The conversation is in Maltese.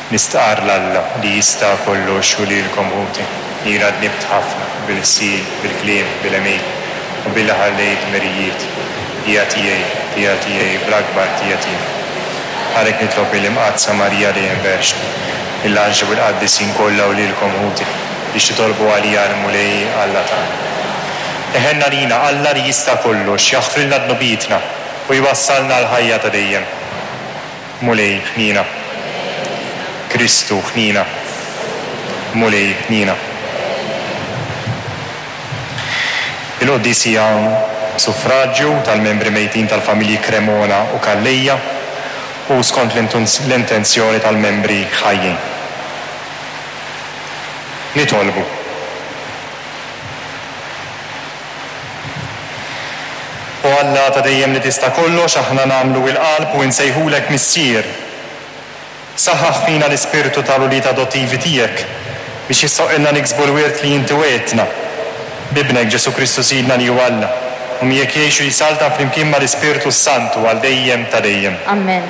Nistqarr 'l Alla li jista' kollox u lilkom ħuti, li jiena dnibt ħafna bil-ħsieb, bil-kliem, bil-għemil, u billi ħallejt dmirijiet. Ħtija tiegħi, ħtija tiegħi, bl-akbar ħtija tiegħi. Għalhekk nitlob lill-Imqaddsa Marija dejjem Verġni, lill-anġli u l-qaddisin kollha u lilkom ħuti, biex titolbu għalija għall-Mulej Alla tagħna. Iħenn għalina Alla li jista' kollox, jaħfrilna dnubietna u jwassalna għall-ħajja ta' dejjem. Mulej, ħniena. Kristu, ħniena. Mulej, ħniena. Il-quddies hija b'suffraġju tal-membri mejtin tal-familji Cremona u Calleja u skont l-intenzjoni tal-membri ħajjin. Nitolbu. O Alla ta' dejjem li tista' kollox, aħna nagħmlu il-qalb u insejħulek Missier. Saħħaħ fina l-ispirtu tal-ulied adottivi tiegħek, biex jistħoqqilna niksbu l-wirt li inti wegħidtna. B'Ibnek Ġesù Kristu Sidna li hu Alla, u miegħek jgħix u jsaltan flimkien mal-Ispirtu s-Santu għal dejjem ta' dejjem. Amen.